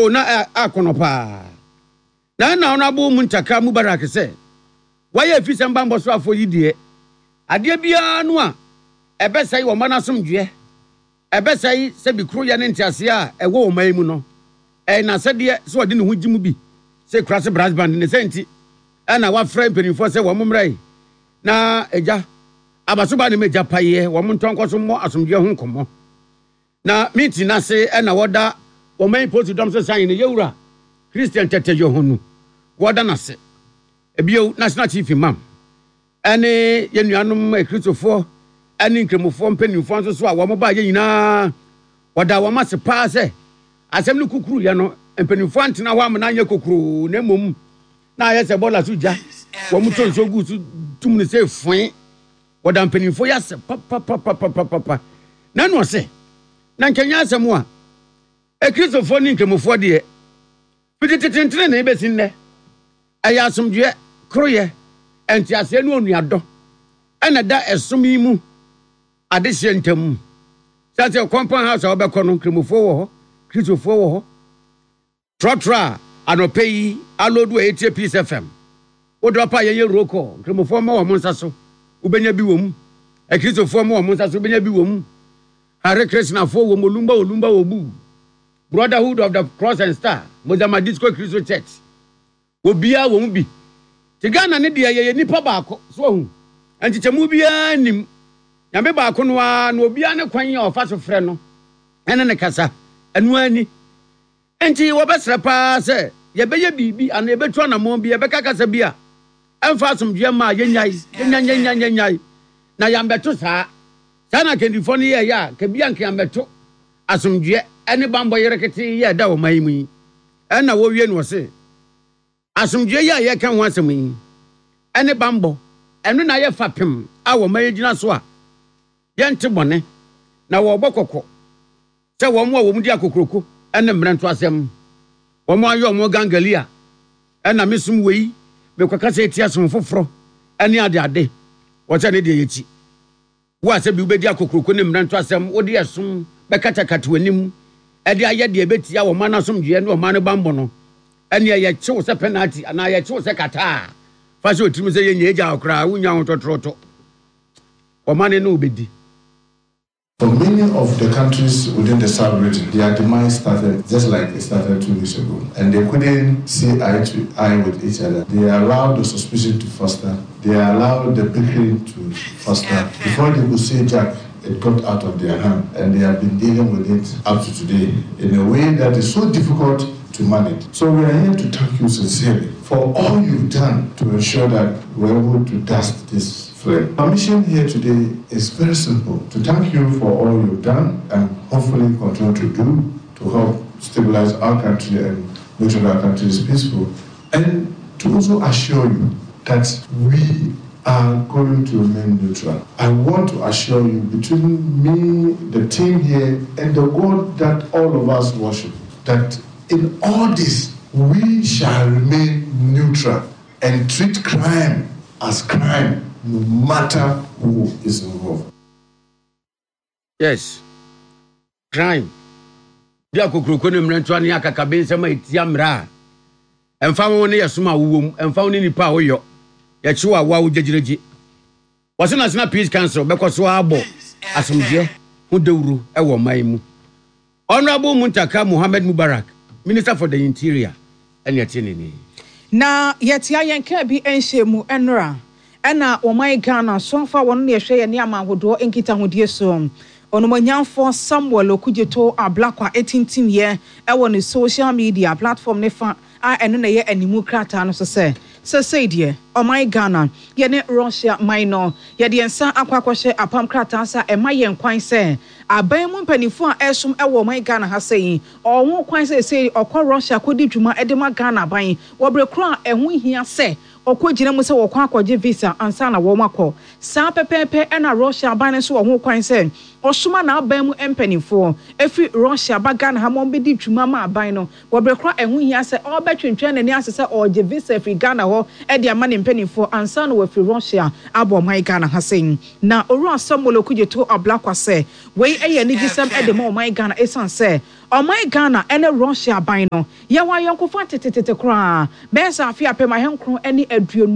O na ɛ akɔnɔ paa. Na ɛna Honourable Muntaka Mubarak sɛ wayɛ afisɛm bammɔ soafoɔ yi deɛ, adeɛ biara no a ɛbɛsɛe ɔman asomdwoeɛ, ɛbɛsɛe sɛbi koroyɛ ne nteaseɛ a ɛwɔ ɔman yi mu no, ɛyɛ n'asɛdeɛ sɛ ɔde ne ho gye mu bi sɛ Kurase Brass Band. Ne saa nti ɛna wafrɛ mpanimfoɔ sɛ wɔn mmra yi na agya Abasoba ne m'agya paeɛ wɔn ntɔ nkɔ so mmɔ asomdwoeɛ ho nkɔmmɔ. Na meeting no ase na wɔda wɔn polisi dɔm so san ne yɛwura Christian Tete Yohonu wɔda no ase. Bio, National Chief Imam ne yɛn nuanom Akristofoɔ ne Nkramofoɔ mpanimfoɔ nso so a wɔn baeɛ nyinaa wɔda wɔn ase paa sɛ asɛm no kukuruiɛ no mpanimfoɔ antena hɔ amena anyɛ kokuroo na mmom na ayɛ sɛ bɔɔla so gya wɔn tɔ nsuo guu so tum no sɛ foe. Wɔda mpanimfoɔ yi ase papapapapapa. Na ɛna ɔse, na nka ɛnyɛ asɛm a, Akristofoɔ ne Nkramofoɔ deɛ, fiti tete ntenenee bɛsi nnɛ, ɛyɛ asomdwoeɛ, koroyɛ, nteaseɛ ne onuadɔ ɛna ɛda ɛsom yi mu adehyeɛ ntam. Sane sɛ compound house a wobɛkɔ no, Nkramofoɔ wɔ hɔ, Kristofoɔ wɔ hɔ. Trɔtrɔ a anɔpa yi aloodu a ɛretie Peace FM. Wo dɔ pa a yɛnyɛ roll call. Nkramofoɔ mmɔ wɔn nsa so, wobɛnya bi wɔ mu. Akristofoɔ mmɔ wɔn nsa so, wobɛnya bi wɔ mu. Hare Krishnafoɔ wɔ mu, Olumba Olumba Obu. Brotherhood of the Cross and Star, Mozama Disco Kristo Church. Obiara wɔ mu bi. Te Ghana ne deɛ yɛyɛ nipa baako, so wahu? Nkyekyɛmu biara nnim. Nyame baako no ara na obiara ne kwan a ɔfa so frɛ no ne no kasa. Ɛno ara ni. Enti wɔbɛsrɛ paa sɛ yɛbɛyɛ biribi anaa yɛbɛtu anammɔn bi, yɛbɛka kasa bi a ɛmfa asomdwoeɛ mma a, yɛnnyae, yɛnnyae, yɛnnyae, yɛnnyae, na yɛammɛto saa. Saa na akandifoɔ no yɛeɛ a, ka bi anka yɛammɛto asomdwoeɛ ne bammɔ yereketee yi a ɛda ɔman yi mu yi. Ɛnna wɔwie no wɔse, Asomdwoeɛ yi a yɛreka ho asɛm yi ne bammɔ, ɛno na ayɛ fapem a ɔman yi gyina so a yɛnte bɔne, na wɔrebɔ kɔkɔ sɛ wɔn a wɔdi akokuroko ne mmerɛntoasɛm, wɔn ayɛ wɔn gangalia, ɛna me som wei, mekɔkasa atia som foforɔ ne adeade, wɔsɛ ne deɛ yɛkyi. Wo a sɛbi wobɛdi akokuroko ne mmerɛntoasɛm, wode ɛsom bɛkatakata w'anim de ayɛ deɛ ɛbɛtia ɔman no asomdwoeɛ ne ɔman no bammɔ no, ɛnneɛ yɛkye wo sɛ pɛnati anaa yɛkye wo sɛ kataa. Fa hyɛ wo tirim sɛ yɛnnya agya wo koraa, wonnya ho tɔtorɔtɔ. Ɔman no ne wo bɛdi. For many of the countries within the sub-region, their demise started just like it started two weeks ago. And they couldn't see eye to eye with each other. They allowed the suspicion to foster. They allowed the bickering to foster. Before they could say Jack, it got out of their hand. And they have been dealing with it up to today in a way that is so difficult to manage. So we are here to thank you sincerely for all you've done to ensure that we're able to dust this flame. Our mission here today is very simple to thank you for all you've done and hopefully continue to do to help stabilize our country and make sure that our country is peaceful, and to also assure you that we are going to remain neutral. I want to assure you, between me, the team here, and the God that all of us worship, that in all this, we shall remain neutral and treat crime as crime, no matter who is involved. Yes, crime. Di akokuroko ne mmerɛntoa ne akakabensɛm a ɛtia mmara a ɛmfa ho ne yɛsom a wowɔ mu, ɛmfa ho ne nipa a woyɔ, yɛkye wo a wo a wogyegyeregye. Wɔse National Peace Council bɛkɔ so ara abɔ asomdwoeɛ ho dawuro wɔ ɔman yi mu. Honourable Muntaka Mohammed Mubarak, Minister for the Interior, ɛne ɛte ne nne. Na yɛtea yɛn kaa bi nhyɛ mu nnora ɛna ɔman Ghana so fa wɔn na ɛhwɛ yɛne aman ahodoɔ nkitahodie so. Onimuonyamfoɔ Samuel Okudzeto Ablakwa tintimyɛ wɔ ne social media platform ne fa a ɛno na ɛyɛ animu krataa no so sɛ, Sesei deɛ, ɔman Ghana, yɛne Russia man no, yɛde yɛn nsa akɔ akɔhyɛ apam krataa ase a ɛma yɛn kwan sɛ aban mu mpaninfoɔ a ɛresom wɔ ɔman Ghana ha sei, ɔwɔ ho kwan sɛ sesei ɔkɔ Russia kɔdi dwuma de ma Ghana aban wɔ bere korɔ a ɛho nhia sɛ ɔkɔgyina mu sɛ wɔkɔ akɔgye visa ansa na wɔakɔ. Saa pɛpɛɛpɛ na Russia aban no nso wɔ ho kwan sɛ ɔsoma n'aban mu mpanimfoɔ firi Russia ba Ghana ha ma wɔbɛdi dwuma ma aban no wɔ berɛ korɔ a ɛho hia sɛ ɔrebɛtwentwɛn n'ani ase sɛ ɔregye visa afiri Ghana hɔ de ama ne mpanimfoɔ ansa na wafiri Russia abɔ ɔman Ghana ha sei. Na Owura Samuel Okudzeto Ablakwa sɛ wei yɛ anigyesɛm de ma ɔman Ghana ɛsiane sɛ ɔman Ghana ne Russia aban no yɛwɔ ayɔnkofa tetetete koraa bɛyɛ sɛ afe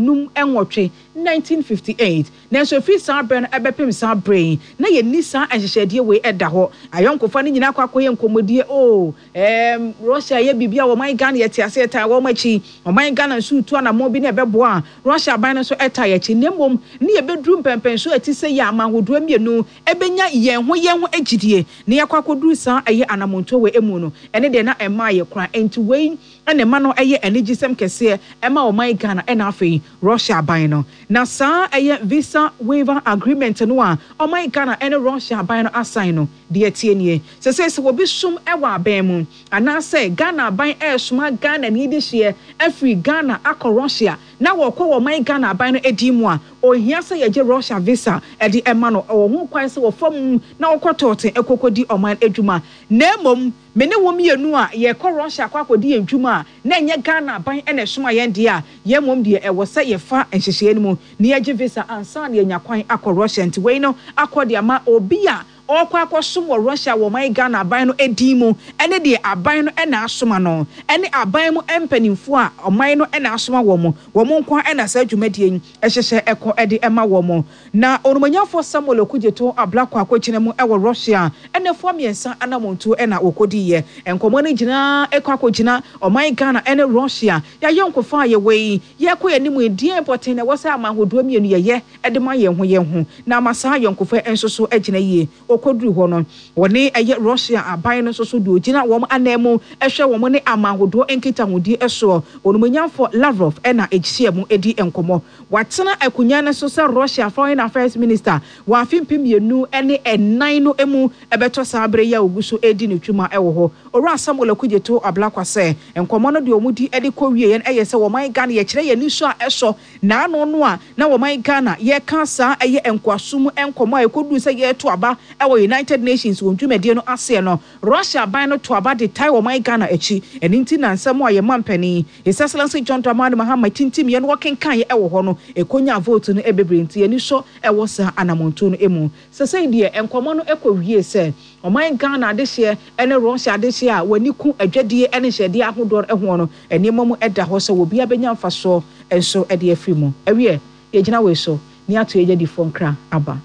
1958, 1958. Nanso ɛfiri saa berɛ no bɛpem saa berɛ yi, na yɛnni saa nhyehyɛdeɛ wei da hɔ. Ayɔnkofa no nyinaa kɔ akɔyɛ nkɔmmɔdie, oh, ɛɛm, Russia yɛ biribi a ɔman Ghana yɛte aseɛ yɛtaa wɔn akyi, ɔman Ghana nso retu anammɔn bi na ɛbɛboa a, Russia aban no nso taa yɛn akyi. Na mmom ne yɛbɛduru mpɛnpɛnsoɔ a ɛte sɛ yi a aman ahodoɔ mmienu bɛnya yɛn ho yɛn ho gyidie na yɛakɔ akɔduru saa ɛyɛ anammɔntuo wei mu no, ɛno deɛ na ɛmmaa yɛ koraa. Enti wei na ɛma no yɛ anigyesɛm kɛseɛ ma ɔman Ghana ɛna afei Russia aban no. Na saa ɛyɛ Visa Waiver Agreement no a ɔman Ghana ɛne Russia aban no asan no, deɛ ɛteɛ nie, Sesei sɛ obi som wɔ aban mu anaasɛ Ghana aban ɛresoma Ghanani dehyeɛ afiri Ghana akɔ Russia na wɔkɔ wɔ ɔman Ghana aban no din mu a, ɔnhia sɛ yɛgye Russia visa de ma no, ɔwɔ ho kwan sɛ ɔfa mu na ɔkɔ tɔɔten kɔkɔdi ɔman adwuma. Na mmom Me ne wo mmienu a yɛrekɔ Russia akɔ akɔdi yɛn dwuma a na ɛnyɛ Ghana aban na ɛsoma yɛn deɛ a, yɛn mmom deɛ ɛwɔ sɛ yɛfa nhyehyɛeɛ no mu na yɛgye visa ansa na yɛanya kwan akɔ Russia. Nti wei no akɔ de ama obi a ɔrekɔ akɔsom wɔ Russia wɔ ɔman Ghana aban no din mu ne deɛ aban no na asoma no ne aban mu mpanimfoɔ a ɔman no na asoma wɔn, wɔn nko ara na saa dwumadie yi hyehyɛ kɔ de ma wɔn. Na Onumonyamfoɔ Samuel Okudzeto Ablakwa kɔgyina mu wɔ Russia nnafua mmiɛnsa anamontuo na wɔkɔdiiɛ. Nkɔmmɔ no gyinaa kɔ akɔgyina ɔman Ghana ne Russia yɛayɔnkofa a yɛwɔ yi, yɛrekɔ yɛn anim yi, deɛn pɔtee na ɛwɔ sɛ aman ahodoɔ mmienu yɛyɛ de ma yɛn ho yɛn ho na ama saa ayɔnkofa yi nso so agyina yie. Wɔkɔduruu hɔ no, wɔne ɛyɛ Russia aban no nso so deɛ ɔgyina wɔn ananmu hwɛ wɔn ne aman ahodoɔ nkitahodie soɔ, Onumonyamfoɔ Lavrov na ɛhyiaa mu di nkɔmmɔ. Watena akonnwa no so sɛ Russia Foreign Affairs Minister wɔ afe 2004 no mu bɛtɔ saa bere yi a ogu so redi ne dwuma wɔ hɔ. Owura Samuel Okudzeto Ablakwa sɛ nkɔmmɔ no deɛ wɔn di de kɔ wieɛ no yɛ sɛ wɔman Ghana yɛkyerɛ yɛn anisɔ a ɛsɔ n'ano no a na wɔman Ghana yɛka saa ɛyɛ nkoasom nkɔmmɔ a ɛkɔduru sɛ yɛreto aba wɔ United Nations wɔn dwumadie no aseɛ no Russia aban no to aba de tae ɔman Ghana akyi. Ɛno nti na nsɛm a yɛn mampanin, His Excellency John Dramani Mahama tintimiiɛ na ɔkenkaeɛ wɔ hɔ no, ɛkɔnyaa vote no bebree nti yɛn ani sɔ wɔ saa anamontuo no mu. Sesei deɛ nkɔmmɔ no kɔwiee sɛ ɔman Ghana adehyeɛ ne Russia adehyeɛ a wɔn ani ku adwadie ne nhyɛdeɛ ahodoɔ hoɔ no, nneɛma mu da hɔ sɛ obiara bɛnya mfasoɔ nso de afiri mu. Ɛwiɛ, yɛgyina wei so ne ato yɛn adwadifoɔ nkra aba.